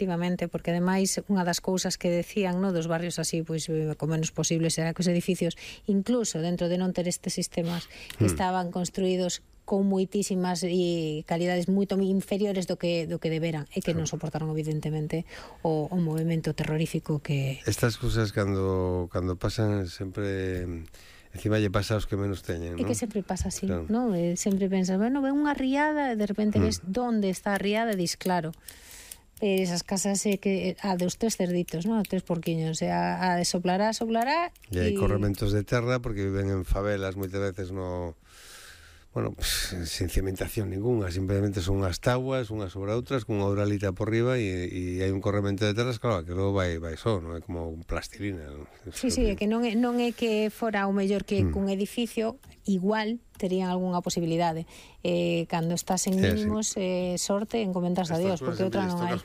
efectivamente, porque ademais unha das cousas que decían, no, dos barrios así, pois co menos posible será que os edificios, incluso dentro de non ter estes sistemas, estaban construídos con moitísimas calidades moito inferiores do que deberan, e que non soportaron evidentemente o movimento terrorífico que... Estas cousas cando pasan sempre... Encima lle pasa aos que menos teñen, non? É que sempre pasa así, claro. Non? Sempre pensas, bueno, ven unha riada e de repente ves donde está a riada e dis, claro, esas casas que dos 3 cerditos, non? 3 porquiños, a de soplará e hai corrementos de terra porque viven en favelas moitas veces no... Bueno, pues, sin cimentación ninguna, simplemente son unhas tabuas, unhas sobre outras, con unha uralita por riba e hai un corremento de terras, claro, que logo vai só, non é como un plastilina, non? Sí, é que non é que fora o mellor que cun edificio, igual terían algunha posibilidade. Cando estás en mínimos, sorte, encomendas a Dios, porque outra non hai.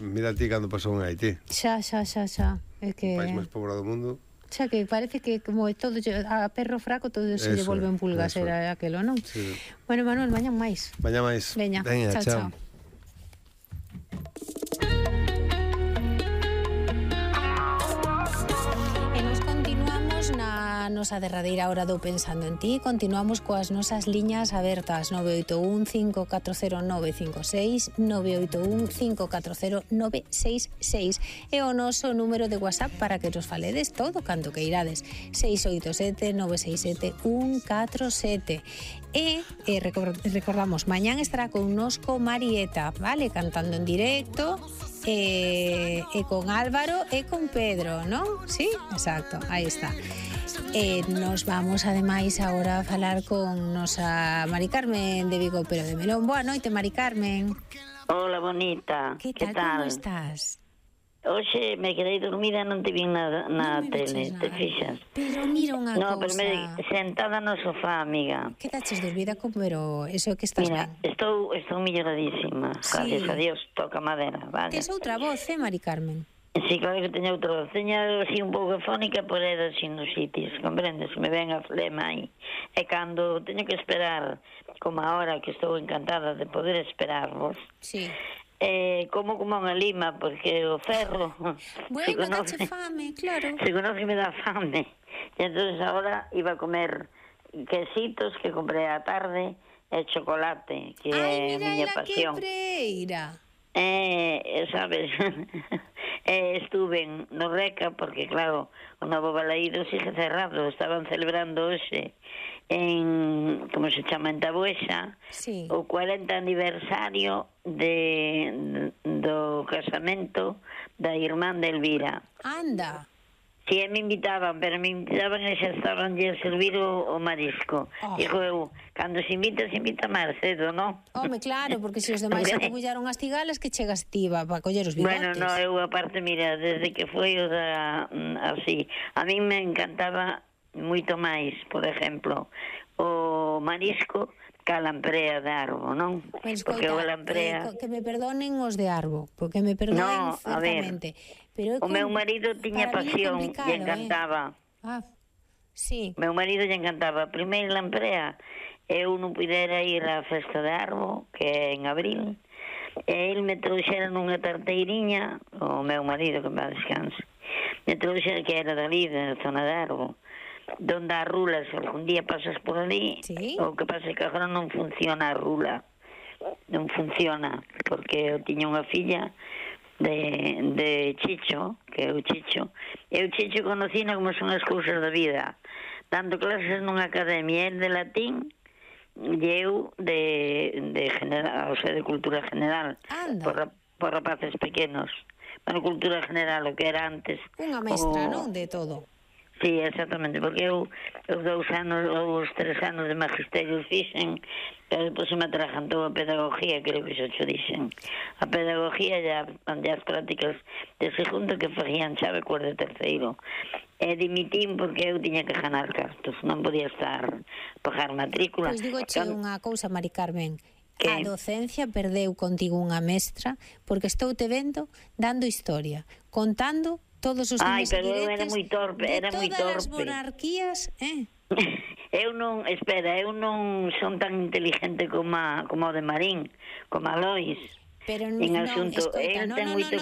Mira ti cando pasou en Haití. Xa. É que... O país máis pobrado do mundo. Xa que parece que como todo a perro fraco todo se lle volven pulgas, era aquelo, non? Sí. Bueno, Manuel, mañán máis. Veña, chao. E nos continuamos na nosa derradeira hora do Pensando en Ti. Continuamos coas nosas liñas abertas 981 540 956 981 540 966 e o noso número de WhatsApp para que nos faledes todo canto que irades 687 967 147 e recordamos, mañán estará connosco Marieta, vale, cantando en directo e con Álvaro e con Pedro, non? Sí, exacto, aí está. Nos vamos ademais agora a falar con nosa Mari Carmen de Vigo, pero de Melón. Boa noite, Mari Carmen. Hola, bonita. Que tal? Como estás? Oxe, me quedei dormida, non te vi na tele, te fixas? Pero mira unha cousa. No, pero sentada no sofá, amiga. Quedaches dormida, pero eso que estás ben? Mira, estou melloradísima, gracias a Dios, toca madera, vale? Tes outra voz, Mari Carmen? Sí, claro que teño outra voz. Teño así un pouco fónica por é da sinusitis, comprendes? Me ven a flema aí. E cando teño que esperar, como ahora que estou encantada de poder esperarvos, sí. Como unha lima, porque o ferro... Bueno, dache fame, claro. Se conoce que me dá fame. E entonces ahora iba a comer quesitos que comprei á tarde e chocolate, que é a miña pasión. Ai, mira, sabes... estuve no Reca, porque claro, o novo balaído sigue cerrado. Estaban celebrando hoxe en, como se chama, en Tabuesa, sí, o 40 aniversario do casamento da irmán de Elvira. Anda. Si, me invitaban, pero me invitaban e xa estaban a servir o marisco. Digo eu, cando se invita máis cedo, non? Home, claro, porque se os demais se bullaron as tigalas, que chegas ti para coller os bigotes. Bueno, no, eu aparte, mira, desde que foi o da... así, a mí me encantaba moito máis, por exemplo, o marisco que a lamprea de Arbo, non? Pues, porque o lamprea... que me perdonen os de Arbo, porque me perdonen certamente. Pero o meu marido tiña pasión e encantaba. Sí. Meu marido lle encantaba. Primeiro lamprea, eu non pudera ir á festa de Arbo, que é en abril, e ele me trouxera nunha tarteiriña, o meu marido, que me descanse, me trouxera que era dali, da zona de Arbo, donde a rula, se algún día pasas por ali, ¿sí? O que pasa é que agora non funciona a rula, non funciona, porque eu tiña unha filla de Chicho, que é o Chicho, e o Chicho conocina como son as cousas da vida, dando clases nunha academia, el de latín e eu de general, o sea, de cultura general, por rapaces pequenos. Bueno, cultura general, o que era antes. Unha mestra, non? De todo. Sí, exactamente, porque eu 2 anos ou os 3 anos de magisterio fixen, pero depois se me atrajantou a pedagogía, creo que xa xo dixen. A pedagogía e as prácticas de segundo que facían chave cor de terceiro. E dimitín porque eu tiña que ganar cartos, non podía estar pagar matrícula. Pois digoche unha cousa, Mari Carmen, a docencia perdeu contigo unha mestra, porque estou te vendo dando historia, contando todos os dimes pero eu era moi torpe, de todas as monarquías, Eu non son tan inteligente como o de Marín, como a Lois. Pero en asunto, eu ten moito